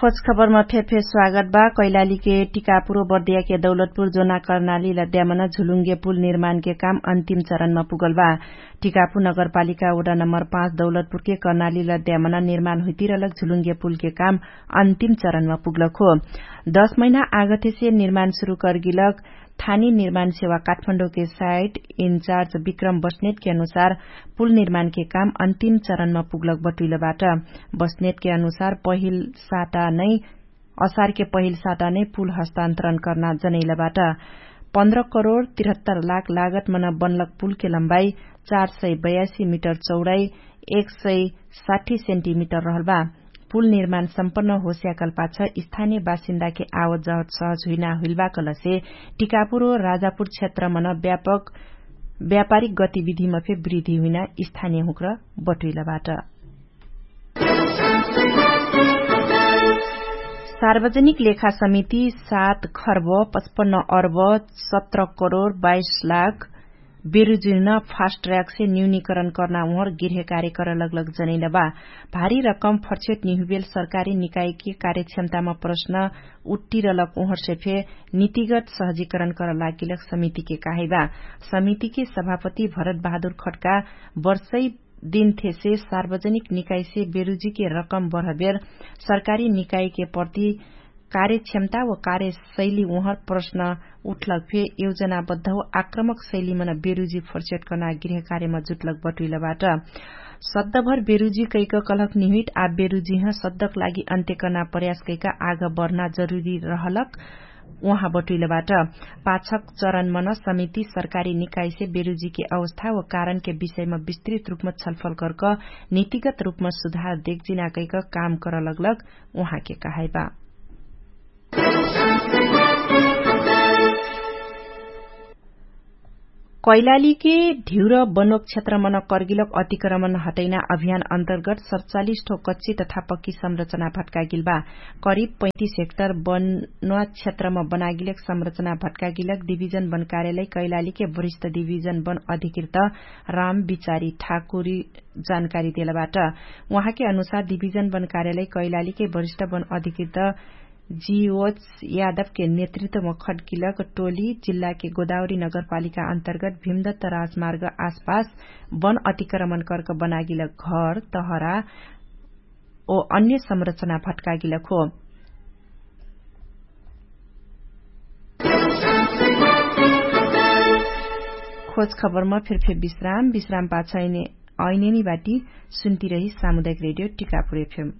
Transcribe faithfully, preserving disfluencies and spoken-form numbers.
खोज खबरमा फेर फेर स्वागत बा। कैलालीके टिकापुरो बर्दियाके दौलतपुर जोना कर्नाली लद्यामन झुलुङ्गे पुल निर्माणके काम अन्तिम चरणमा पुगल बा। टिकापु नगरपालिका वडा नम्बर पाँच दौलतपुरके कर्नाली लद्यामन निर्माण हुइतिरलक झुलुङ्गे पुलके काम अन्तिम चरणमा पुगलक हो। दश महिना आगथेसे निर्माण सुरु करगिलक थानी निर्माण सेवा काठमाण्डौके साइट इन्चार्ज विक्रम बस्नेटके अनुसार पुल निर्माणके काम अन्तिम चरणमा पुगलक बटुइलबाट। बस्नेटके अनुसार पहिल साता नै असारके पहिल साता नै पुल हस्तान्तरण कर्ना जनैलबाट। पन्ध्र करोड तिरहत्तर लाख लागत मन बनलक पुलके लम्बाई चार सय बयासी मिटर चौडाई एक सय साठी सेन्टिमिटर रहलबा। पुल निर्माण सम्पन्न होस्याकलपाछ स्थानीय बासिन्दाके आवत जावत सहज हुइना हुइलबा कलसे टिकापुर राजापुर क्षेत्रमन व्यापक व्यापारिक गतिविधिमा फे वृद्धि हुइना स्थानीय हुँक्र बटुइलबाट। सार्वजनिक लेखा समिति सात खर्ब पचपन्न अर्ब सत्र करोड बाइस लाख बेरुजिन फास्ट ट्र्याकसे न्यूनीकरण कर्ना उहर गृह कार्य करलगलग जनैलबा। भारी रकम फर्छेट निहुबेल सरकारी निकायकी कार्यक्षमतामा प्रश्न उट्टिरलक उहरसे फे नीतिगत सहजीकरण करलागिलक समितिके कहैबा। समितिके सभापति भरत बहादुर खट्का वर्षै दिनथेसे सार्वजनिक निकायसे बेरुजीके रकम बढबेर सरकारी निकायके प्रति कार्यक्षमता व कार्यशैली उहर प्रश्न उठलक फे योजनाबद्ध व आक्रमक शैलीमन बेरुजी फर्सेट कर्ना गृह कार्यमा जुटलक बटुइलबाट। सद्दभर बेरुजी कैक कलक निहुइट आ बेरुजीह सद्दक लागि अन्त्य कर्ना प्रयास कैक आग बढ्ना जरुरी रहलक उहाँ बटुइलबाट। पाछक चरणमन समिति सरकारी निकायसे बेरुजीके अवस्था व कारणके विषयमा विस्तृत रुपमा छलफल कर्क नीतिगत रुपमा सुधार देखजिना कैक काम करलगलक उहाँके कहैबा। कैलालीके ढिउर बनोक क्षेत्रमन कर्गिलक अतिक्रमण हटैना अभियान अन्तर्गत सतचालिस ठो कच्ची तथा पक्की संरचना भट्कागिलबा। करिब पैतिस हेक्टर बनोक क्षेत्रम बनागिलक संरचना भट्कागिलक डिभिजन बन कार्यालय कैलालीके वरिष्ठ डिभिजन बन अधिकृत राम बिचारी ठाकुरी जानकारी देलबाट। उहाँके अनुसार डिभिजन बन कार्यालय कैलालीके वरिष्ठ बन अधिकृत जिओच यादवके नेतृत्वम खड्किलक टोली जिल्लाके गोदावरी नगरपालिका अन्तर्गत भिमदत्त राजमार्ग आसपास बन अतिक्रमण कर्क बनागिलक घर तहरा ओ अन्य संरचना भट्कागिलक हो। खोज खबरमा फेरफेर विश्राम विश्राम पाछ ऐनेनी बाटी सुन्तिरही सामुदायिक रेडियो टिकापुर एफएम।